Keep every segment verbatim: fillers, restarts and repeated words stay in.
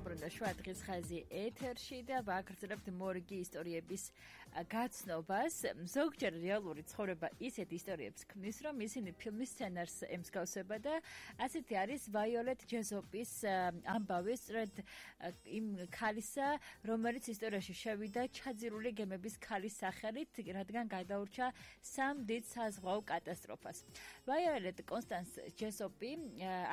დაუბრუნდა შუა დღის ხაზი ეთერში და ვაგრძელებთ მორგი ისტორიების გაცნობას. ზოგჯერ რეალური ცხოვრება ისეთ ისტორიებს ქმნის, რომ ისინი ფილმის სცენარს ემსგავსება და ასეთი არის ვაიოლეტ ჯესოპის ამბავი, სწორედ იმ ქალისა, რომელიც ისტორიაში შევიდა ჩაძირული გემების ქალის სახელით, რადგან გადაურჩა სამ დიდ საზღვაო კატასტროფას. ვაიოლეტ კონსტანს ჯესოპი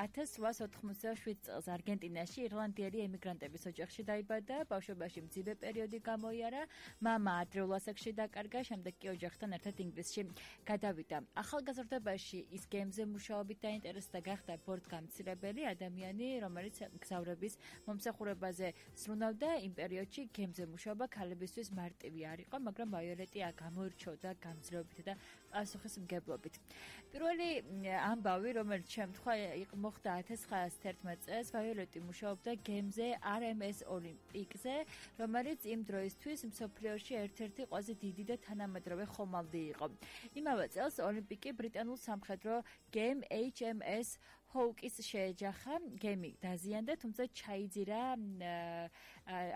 ათას რვაას ოთხმოცდაშვიდ წელს არგენტინაში ირლანდიელი ემიგრანტების ოჯახში დაიბადა, ბავშვობაში მძიმე პერიოდი გამოიარა, მამა ადრეულ ასაკში დაკარგა, შემდეგ კი ოჯახთან ერთად ინგლისში გადავიდა. ახალგაზრდობაში ის გემზე მუშაობით დაინტერესდა, გახდა ბორტგამცირებელი ადამიანი, რომელიც მგზავრების მომსახურებაზე ზრუნავდა. იმ პერიოდში გემზე მუშაობა ქალებისთვის მარტივი არ იყო, მაგრამ ვაიოლეტი გამოირჩეოდა გამძლეობით და პასუხისმგებლობით. პირველი ამბავი, რომელიც შემთხვევა მოხდა ათას ცხრაას თერთმეტ წელს, ვაიოლეტი მუშაობდა გემზე არ ემ ეს ოლიმპიკზე, რომელიც იმ დროისთვის მსოფლიოში ერთ-ერთი ყველაზე დიდი და თანამედროვე ხომალდი იყო. იმავე წელს ოლიმპიკი ბრიტანულ სამხედრო გემ ეიჩ ემ ეს ჰოუკის შეეჯახა, გემი დაზიანდა, თუმცა ჩაიძირა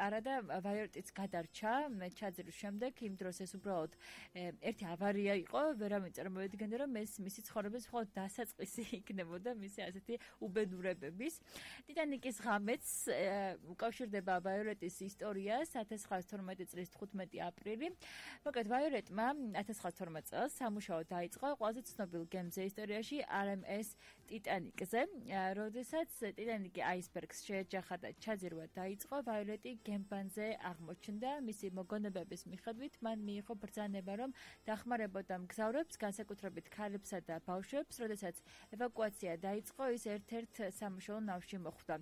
არა და ვაიოლეტიც გადარჩა ჩაძირვის შემდეგ. იმ დროს ეს უბრალოდ ერთი ავარია იყო, ვერავინ წარმოვიდგენდა, რომ ეს მისი ცხოვრების მხოლოდ დასაწყისი იქნებოდა მისი ასეთი უბედურებების. ტიტანიკის ღამეც უკავშირდება ვაიოლეტის ისტორიას ათას ცხრაას თორმეტი წლის თხუთმეტი აპრილი. მოკლედ ვაიოლეტმა ათას ცხრაას თორმეტ წელს სამუშაო დაიწყო ყველაზე ცნობილ გემზე ისტორიაში არ ემ ეს ტიტანიკზე. როდესაც ტიტანიკი აისბერგს შეეჯახა და ჩაძირვა დაიწყო, ვაიოლეტი გემბანზე აღმოჩნდა. მისი მოგონებების მიხედვით მან მიიღო ბრძანება, რომ დახმარებოდა მგზავრებს, განსაკუთრებით ქალებსა და ბავშვებს. როდესაც ევაკუაცია დაიწყო, ის ერთ-ერთ სამუშაო ნავში მოხვდა.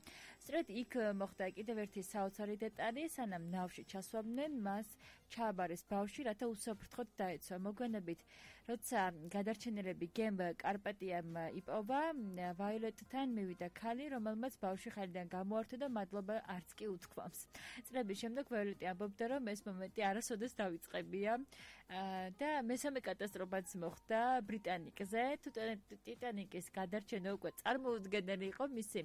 სწორედ იქ მოხდა კიდევ ერთი საოცარი დეტალი, სანამ ნავში ჩასვამდნენ, მას ჩააბარეს ბავშვი, რათა უსაფრთხოდ დაეცვა. მოგვიანებით, როცა გადარჩენილები გემ კარპატიამ იპოვა, ვაიოლეტთან მივიდა ქალი, რომელმაც ბავშვი ხალიდან გამოართვა და მადლობა არც კი უთქვამს. წლების შემდეგ ვაიოლეტი ამბობდა, რომ ეს მომენტი არასოდეს დავიწყებია და მესამე კატასტროფაც მოხდა ბრიტანიკზე. ტიტანიკის გადარჩენა უკვე წარმოუდგენელი იყო, მისი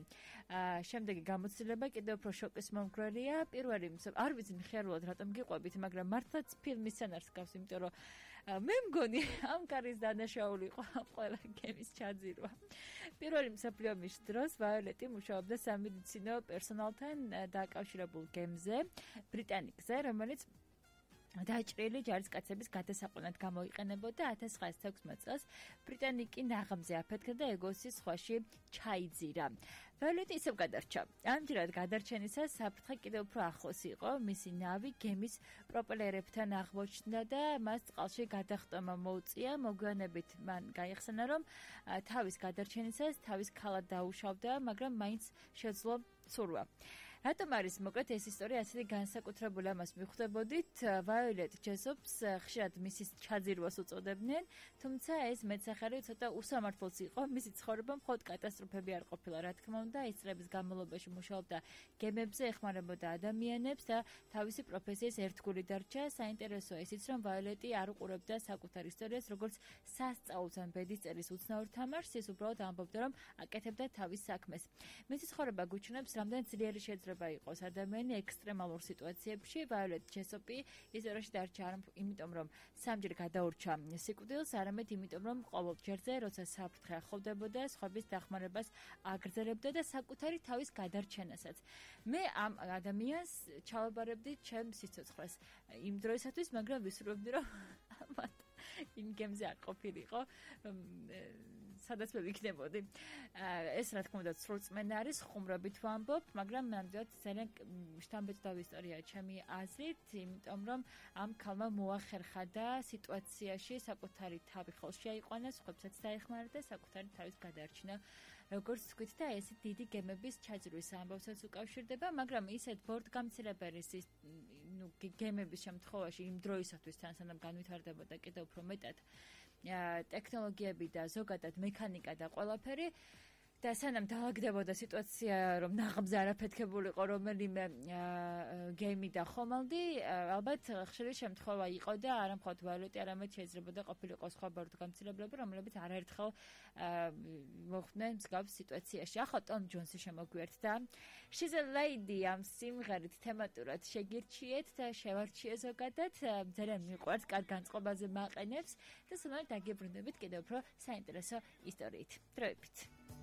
შემდეგი გამოცდილება კიდევ უფრო შოკის მომგვრელია. პირველი არ ვიცი მხიარულად რატომ გიყვებით, მაგრამ მართლაც ფილმის სცენარს გავს, იმიტომ რომ მე მგონი ამ კარის დანაშაული იყო ყველა გემის ჩაძირვა. პირველი მსოფლიო ომის დროს ვაიოლეტი მუშაობდა სამედიცინო პერსონალთან დაკავშირებულ გემზე ბრიტანიკზე, რომელიც დაჭრილი ჯარისკაცების გადასაყვანად გამოიყენებოდა. ათას ცხრაას თექვსმეტ წელს ბრიტანიკი ნაღამზე აფეთქდა და ეგოსის ზღვაში ჩაიძირა. ვაიოლეტი ისევ გადარჩა. ამჯერად გადარჩენისას საფრთხე კიდევ უფრო ახლოს იყო. მისი ნავი გემის პროპელერებთან აღმოჩნდა და მას წყალში გადახტომა მოუწია. მოგვიანებით მან გაიხსენა, რომ თავის გადარჩენისას თავის ქალად დაუშავდა, მაგრამ მაინც შეძლო ცურვა. რატომ არის მოკლედ ეს ისტორია ასეთი განსაკუთრებული, ამას მიხვდებოდით. ვაიოლეტ ჯესოპს ხშირად მისის ჩაძირვას უწოდებდნენ, თუმცა ეს მეტსახელი ცოტა უსამართლოც იყო. მისი ცხოვრება მხოლოდ კატასტროფები არ ყოფილა, რა თქმა უნდა, ის წლების განმავლობაში მუშაობდა გემებზე, ეხმარებოდა ადამიანებს და თავისი პროფესიის ერთგული დარჩა. საინტერესოა ისიც, რომ ვაიოლეტი არ უყურებდა საკუთარ ისტორიას, როგორც სასწაულს ან ბედის წერის უცნაურ თამაშს, ის უბრალოდ ამბობდა, რომ აკეთებდა თავის საქმეს. მისი ცხოვრება გუჩვენებს, რამდენ ძლიერი შეიძლება იყოს ადამიანი ექსტრემალურ სიტუაციებში. ვაიოლეტ ჯესოპი ისტორიაში დარჩა არა იმიტომ, რომ სამჯერ გადაურჩა სიკვდილს, არამედ იმიტომ, რომ ყოველ ჯერზე, როცა საფრთხე ახლოვდებოდა, სხვების დახმარებას აგრძელებდა და საკუთარი თავის გადარჩენასაც. მე ამ ადამიანს ჩავაბარებდი ჩემ სიცოცხლეს იმ დროისათვის, მაგრამ ვისურვებდი, რომ ამათ იმ გემზე არ ყოფილიყო, სადაც მე ვიქნებოდი. ეს რა თქმა უნდა სრულწმენა არის, ხუმრობით ვამბობ, მაგრამ ნამდვილად ძალიან შთამბეჭდავი ისტორიაა ჩემი აზრით, იმიტომ რომ ამ ქალმა მოახერხა და სიტუაციაში საკუთარი თავი ხელში აიყვანა, სხვებსაც დაეხმარა და საკუთარი თავის გადარჩინა. როგორც თქვით და ეს დიდი გემების ჩაძირვის ამბავსაც უკავშირდება, მაგრამ ისეთ ბორტგამცირებელი ნუ გემების შემთხვევაში იმ დროისათვის თან სანამ განვითარდებოდა კიდევ უფრო მეტად ტექნოლოგიები და ზოგადად მექანიკა და ყველაფერი, და სანამ დაალაგდებოდა სიტუაცია, რომ ნაღმზე არაფეთქებულიყო რომელიმე გეიმი და ხომალდი, ალბათ ხშირი შემთხვევა იყო და არა მხოლოდ ვიოლეტი, არამედ შეიძლებოდა ყოფილიყო სხვა ბოროტგამცირებლები, რომლებიც არაერთხელ მოხვდნენ მსგავს სიტუაციაში. ახლა ტომ ჯონსი შემოგვიერთდა. She's a lady ამ სიმღერით თემატურად შეგირჩიეთ და შევარჩიე ზოგადად. ძალიან მიყვარს, კარგ განწყობაზე მაყენებს და სულ დაგიბრუნდებით კიდევ უფრო საინტერესო ისტორიით. დროებით.